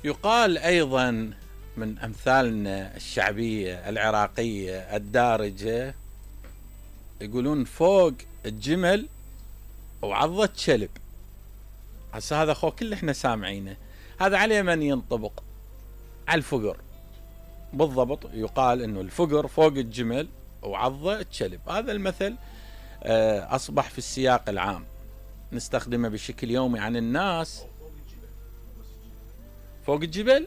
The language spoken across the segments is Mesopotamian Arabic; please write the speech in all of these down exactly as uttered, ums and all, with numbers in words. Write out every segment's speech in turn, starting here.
يقال أيضا من أمثالنا الشعبية العراقية الدارجة، يقولون فوق الجمل وعضة كلب. هسه هذا خو كل احنا سامعينه، هذا على من ينطبق؟ على الفقر بالضبط. يقال انه الفقر فوق الجمل وعضة الكلب. هذا المثل اصبح في السياق العام نستخدمه بشكل يومي عن الناس. فوق الجبل،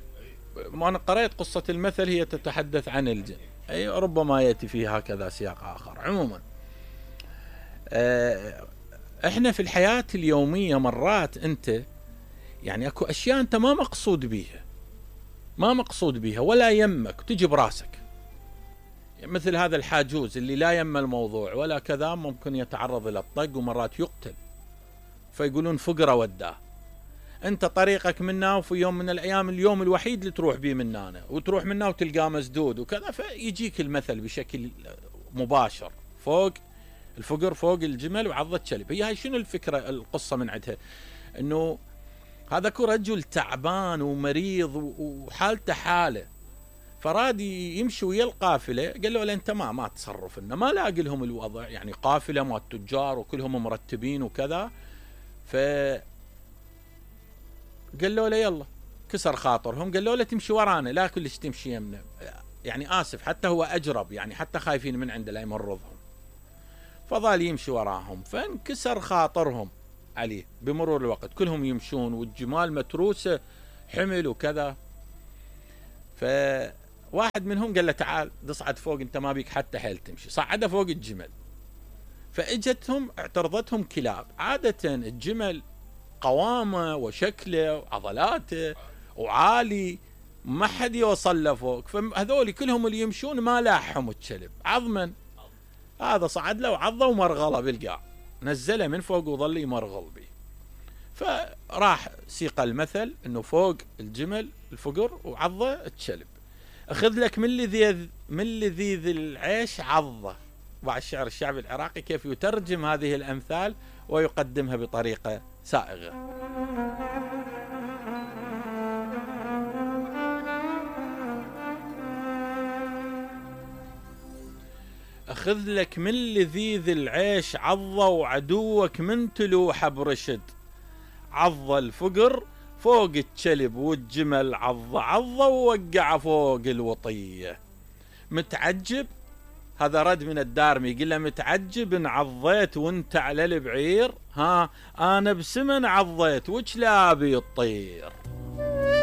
ما انا قرأت قصة المثل هي تتحدث عن الجن، اي ربما يأتي فيه هكذا سياق اخر. عموما احنا في الحياة اليومية مرات انت يعني اكو اشياء انت ما مقصود بيها، ما مقصود بيها ولا يمك تجي براسك، مثل هذا الحاجوز اللي لا يم الموضوع ولا كذا، ممكن يتعرض الى الطق ومرات يقتل، فيقولون فقرة وداه. انت طريقك منا، وفي يوم من الايام اليوم الوحيد اللي تروح بيه مننا وتروح منا وتلقاه مسدود وكذا، فيجيك المثل بشكل مباشر، فوق الفقر فوق الجمل وعضة كلب. هي هاي شنو الفكرة القصة من عندها؟ انه هذاك رجل تعبان ومريض وحالته حاله، فراد يمشي ويا القافله، قال له انت ما ما تصرف لنا، ما لاقي لهم الوضع، يعني قافله مال التجار وكلهم مرتبين وكذا. ف قال له يلا، كسر خاطرهم، قال له تمشي ورانا، لا كلش تمشي يمنا، يعني اسف، حتى هو اجرب، يعني حتى خايفين من عنده لا يمرضهم. فظل يمشي وراهم، فانكسر خاطرهم عليه بمرور الوقت، كلهم يمشون والجمال متروسه حمل وكذا. فواحد منهم قال له تعال تصعد فوق، انت ما بيك حتى حيل تمشي. صعده فوق الجمل، فاجتهم اعترضتهم كلاب. عاده الجمل قوامه وشكله وعضلاته وعالي، ما حد يوصل له فوق، فهذول كلهم اللي يمشون ما لاحهم الكلب عظما. هذا صعد له وعضه ومرغله بالقاع، نزله من فوق وظل يمرغل به. فراح سيق المثل انه فوق الجمل الفقر وعضه الكلب. اخذ لك من لذيذ من لذيذ العيش عضه. بعض الشعر الشعبي العراقي كيف يترجم هذه الامثال ويقدمها بطريقه سائغه. أخذ لك من لذيذ العيش عضة، وعدوك من تلوحه برشد. عضة الفقر فوق الكلب والجمل، عضة عضة ووقع فوق الوطية. متعجب، هذا رد من الدارمي، يقول له متعجب ان عضيت وانت على البعير، ها انا بسمن عضيت وش لابي الطير.